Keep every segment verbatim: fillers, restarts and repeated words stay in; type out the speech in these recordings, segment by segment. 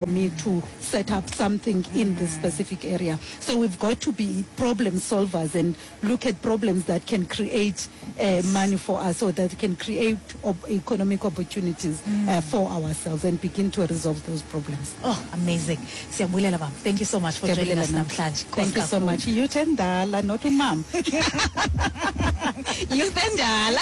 Me to set up something in this specific area. So we've got to be problem solvers and look at problems that can create uh, money for us or that can create op- economic opportunities mm. uh, for ourselves and begin to resolve those problems. Oh, amazing. Siyabulela, ma'am. Thank you so much for joining us namhlanje. Thank you so much. Youth endala, not umam. Youth endala.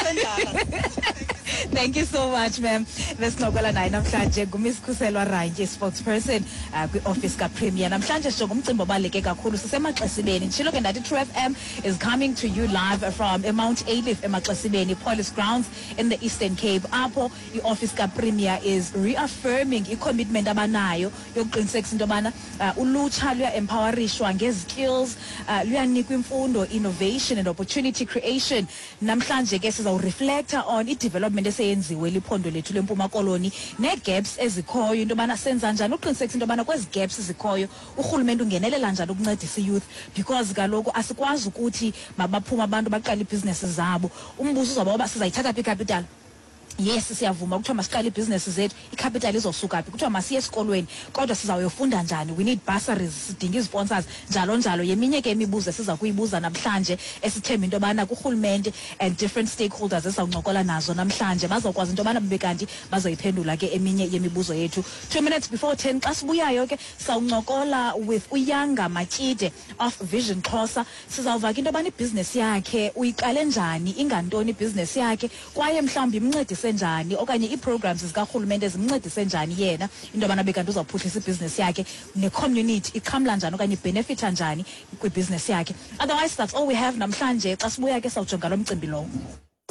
Thank you so much, ma'am. Besincokola naye namhlanje nguMiss Khuselwa Rantjie, spokesperson uh, kwi-office kaPremier. Namhlanje sijonga umcimbi obaluleke kakhulu, sisemaXesibeni. Nditshilo ke ndathi True F M is coming to you live from eMount Ayliff, emaXesibeni Police Grounds in the Eastern Cape, apho i-office kaPremier is reaffirming i-commitment abanayo yokuqinisekisa into yobana uh, ulutsha luya-empowerishwa ngezi-skills, uh, luyanikwa imfundo, innovation and opportunity creation. Namhlanje ke sizawureflecta on i-development eseyenziwe liphondo lethu leMpuma Koloni nee-gaps ezikhoyo, into yobana senza njani uqinisekisa into yobana kwezi gaps zikhoyo urhulumente ungenelela njani ukuncedisa i-youth, because kaloku asikwazi ukuthi mabaphume abantu baqale iibhizinesi zabo. Umbuzo uzawuba uba sizayithatha phi icapital? Yes, siyavuma kuthiwa masiqale iibhizinesi zethu, icapital izosuka phi? Kuthiwa masiye esikolweni, kodwa sizawuyofunda njani? We need bursaries, sidinga izi-sponsors, njalo njalo. Yeminye ke imibuzo esiza kuyibuza namhlanje, esithemba into yobana kurhulumente and different stakeholders esizawuncokola nazo namhlanje bazawukwazi into yobana babe kanti bazoyiphendula ke eminye yemibuzo yethu. Two minutes before ten, xa sibuyayo ke sawuncokola with uYanga Matyide of Vision Xhosa. Sizawuva ke into yobana ibhizinesi yakhe uyiqale njani, ingantoni ibhizinesi yakhe, kwaye mhlawumbi imncedise njani okanye ii-programs zikarhulumente zimncedise njani yena into yobana bekanti uzawuphuhlisa ibhizinesi yakhe, necommunity ixhamla njani okanye ibenefitha njani kwibhizinesi yakhe. Otherwise, that's all we have namhlanje. Xa sibuya ke sawujonga lo mcimbi lowo.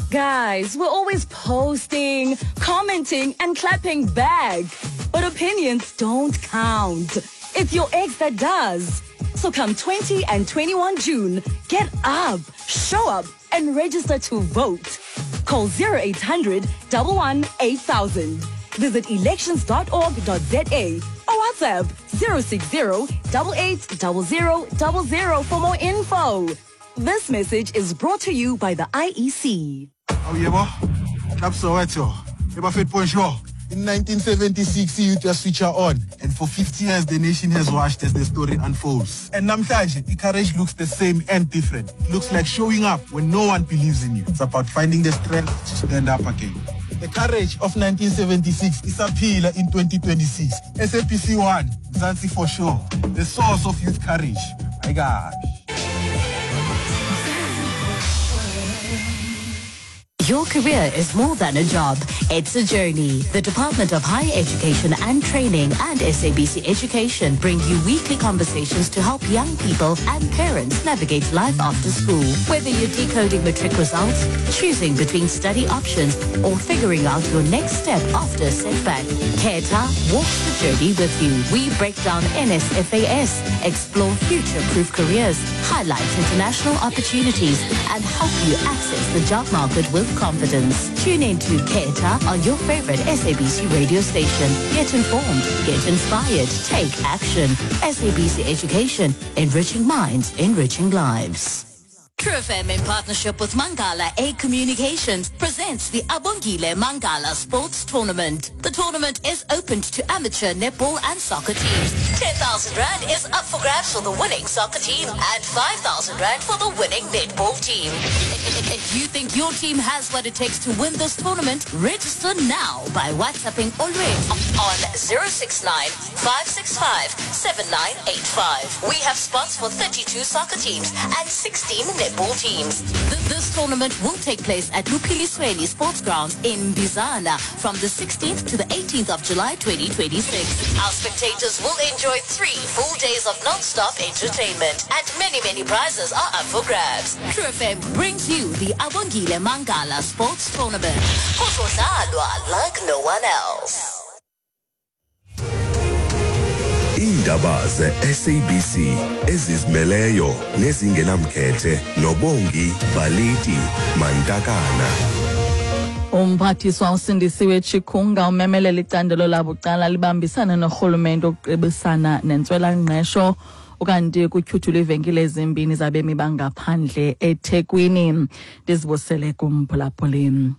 Guys, we're always posting, commenting, and clapping back. But opinions don't count. It's your ex that does. So come twenty and twenty-one June, get up, show up, and register to vote. Call zero eight hundred eleven eight thousand. Visit elections dot org dot za or WhatsApp zero six zero eight eight zero zero zero zero for more info. This message is brought to you by the I E C. Oh yebo, Club Soweto. Yebo bonjour. In nineteen seventy-six, youth was switch on, and for fifty years, the nation has watched as the story unfolds. And namhlanje, courage looks the same and different. It looks like showing up when no one believes in you. It's about finding the strength to stand up again. The courage of nineteen seventy-six is appeal in twenty twenty-six. S A B C one, Mzansi for sure. The source of youth courage. My gosh. Your career is more than a job. It's a journey. The Department of Higher Education and Training and S A B C Education bring you weekly conversations to help young people and parents navigate life after school. Whether you're decoding matric results, choosing between study options, or figuring out your next step after a setback, Khetha walks the journey with you. We break down N S F A S, explore future-proof careers, highlight international opportunities, and help you access the job market with confidence. Tune in to Khetha on your favorite S A B C radio station. Get informed, get inspired, take action. S A B C Education, enriching minds, enriching lives. True F M, in partnership with Mangala A Communications, presents the Abongile Mangala Sports Tournament. The tournament is open to amateur netball and soccer teams. ten thousand Rand is up for grabs for the winning soccer team and five thousand Rand for the winning netball team. If you think your team has what it takes to win this tournament, register now by WhatsApping Olwethu on zero six nine five six five seven nine eight five. We have spots for thirty-two soccer teams and sixteen netball teams. Th- This tournament will take place at Luphilisweni Sports Grounds in Bizana from the sixteenth to the eighteenth of July twenty twenty-six. Our spectators will enjoy three full days of non-stop entertainment, and many, many prizes are up for grabs. True F M brings you the Abongile Mangala Sports Tournament. Kuzodlalwa like no one else. Iindaba ze-S A B C ezizimeleyo nezingenamkhethe noBongi Baliti Mantakana. Umphathiswa uSindisiwe Chikunga umemelela icandelo labucala libambisane norhulumente ukuqebisana nentswelangqesho. Ukanti kutyhuthulwe iivenkile ezimbini zabemi bangaphandle eThekwini. Ndizibusele kumphulaphuli.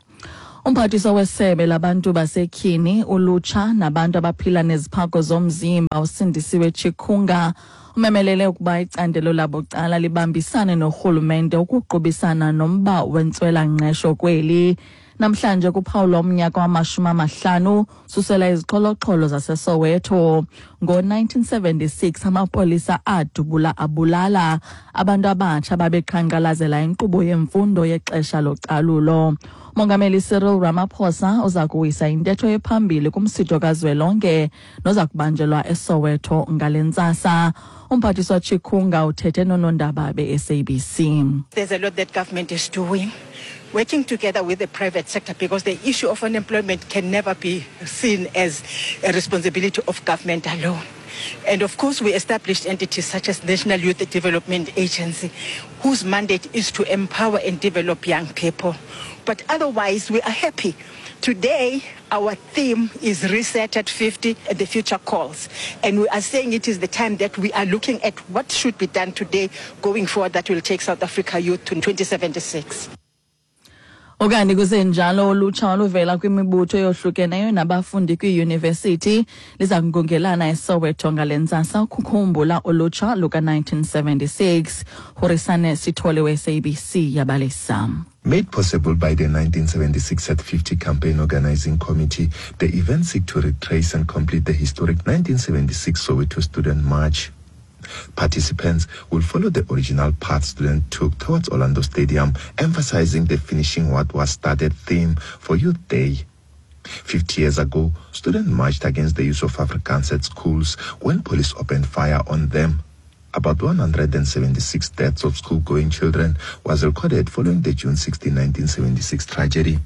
Umphathiswa wesebe labantu basetyhini, ulutsha nabantu abaphila neziphako zomzimba uSindisiwe Chikunga umemelele ukuba icandelo labucala libambisane norhulumente ukuqubisana nomba wentswela-ngqesho kweli. Namhlanje kuphawulwa umnyaka wamashumi amahlanu susela izixholoxholo zaseSoweto. Ngo-nineteen seventy-six amapolisa adubula abulala abantu abatsha babeqhankqalazela inkqubo yemfundo yexesha localulo. Mongameli Cyril Ramaphosa uza kuwisa intetho ephambili kumsitho kazwelonke noza kubanjelwa eSoweto ngale ntsasa. Umphathiswa Chikunga uthethe noonondaba be-S A B C. There's a lot that government is doing, working together with the private sector, because the issue of unemployment can never be seen as a responsibility of government alone. And of course, we established entities such as National Youth Development Agency, whose mandate is to empower and develop young people. But otherwise, we are happy. Today, our theme is Reset at fifty, and the future calls. And we are saying it is the time that we are looking at what should be done today going forward that will take South Africa youth to twenty seventy-six. Okanye kusenjalo ulutsha oluvela kwimibutho eyohlukeneyo nabafundi kwiyunivesithi liza kungongelana eSoweto ngale ntsasa ukukhumbula ulutsha luka nineteen seventy-six. Horisane Sithole we-S A B C yabalisa. Made possible by the nineteen seventy-six at fifty campaign organizing committee, the event seek to retrace and complete the historic nineteen seventy-six Soweto Student March. Participants will follow the original path students took towards Orlando Stadium, emphasizing the finishing what was started theme for Youth Day. fifty years ago, students marched against the use of Afrikaans at schools when police opened fire on them. About one hundred seventy-six deaths of school-going children was recorded following the June sixteenth, nineteen seventy-six tragedy.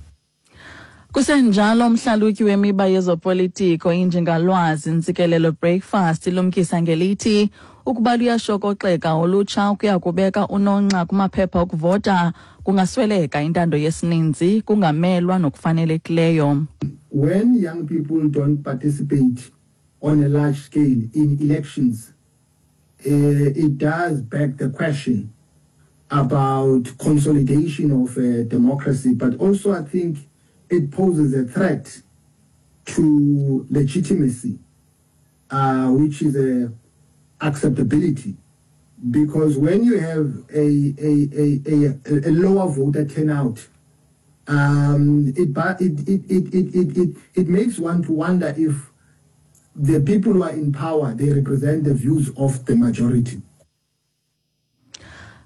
Kusenjalo umhlalutyi wemiba yezopolitiko injengalwazi Ntsikelelo Breakfast ilumkisa ngelithi ukuba luyashokoxeka ulutsha ukuya kubeka unonxa kumaphepha okuvota kungasweleka intando yesininzi kungamelwa nokufanelekileyo. When young people don't participate on a large scale in elections, uh, it does beg the question about consolidation of uh, democracy, but also I think it poses a threat to legitimacy, uh, which is a acceptability, because when you have a a, a, a, a lower voter turnout, um, it, it, it, it, it, it, it makes one to wonder if the people who are in power, they represent the views of the majority.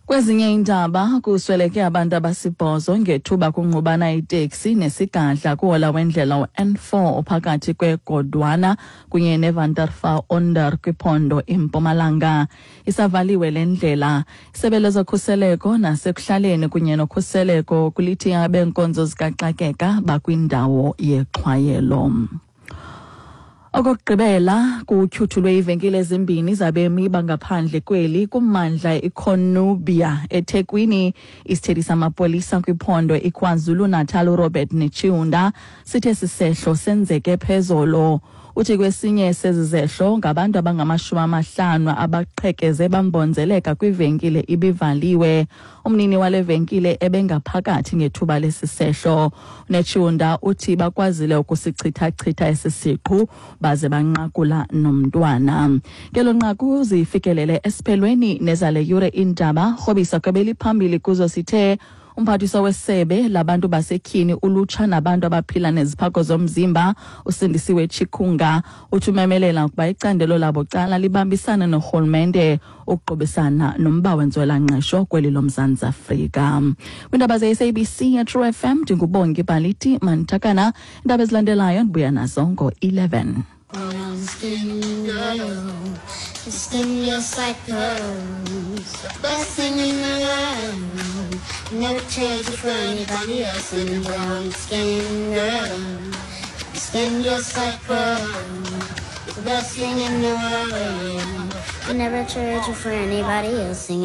Kwezinye iindaba kusweleke abantu abasibhozo ngethuba kungqubana iteksi nesigadla kuhola wendlela u-N four ophakathi kweGodwana kunye neVanderfa Onder kwiphondo iMpumalanga. Isavaliwe le ndlela. Isebe lezokhuseleko nasekuhlaleni kunye nokhuseleko kulithi abenkonzo zikaxakeka bakwindawo yexhwayelo. Okokugqibela kutyhuthulwe iivenkile ezimbini zabemi bangaphandle kweli kummandla iCornubia eThekwini. Isithethi samapolisa kwiphondo iKwaZulu-Natal uRobert Netshiunda sithe sisehlo senzeke phezolo. Uthi kwesinye sezi zehlo ngabantu abangamashumi amahlanu abaqhekeze bambonzeleka kwivenkile ibivaliwe. Umnini wale venkile ebengaphakathi ngethuba lesisehlo. Netshiunda uthi bakwazile ukusichithachitha esi siqhu baze banqakula nomntwana. Ngelo nqaku zifikelele esiphelweni nezale yure iindaba. Rhobisa kwebeliphambili kuzo sithe umphathiswa wesebe labantu basetyhini ulutsha nabantu abaphila neziphako zomzimba uSindisiwe Chikunga uthi umemelela ukuba icandelo labucala libambisane norhulumente ukuqubisana nomba wentswelangqesho kweli loMzantsi Afrika. Kwiindaba ze-S A B C True F M ndinguBongi Baliti Mantakana. Iindaba ezilandelayo ndibuya nazo ngo-eleven. Brown girl, skin just like pearls, best thing in the world. Never trade you for anybody else. In brown skin girl, skin just like pearls, the best thing in the world. Never trade you for anybody else.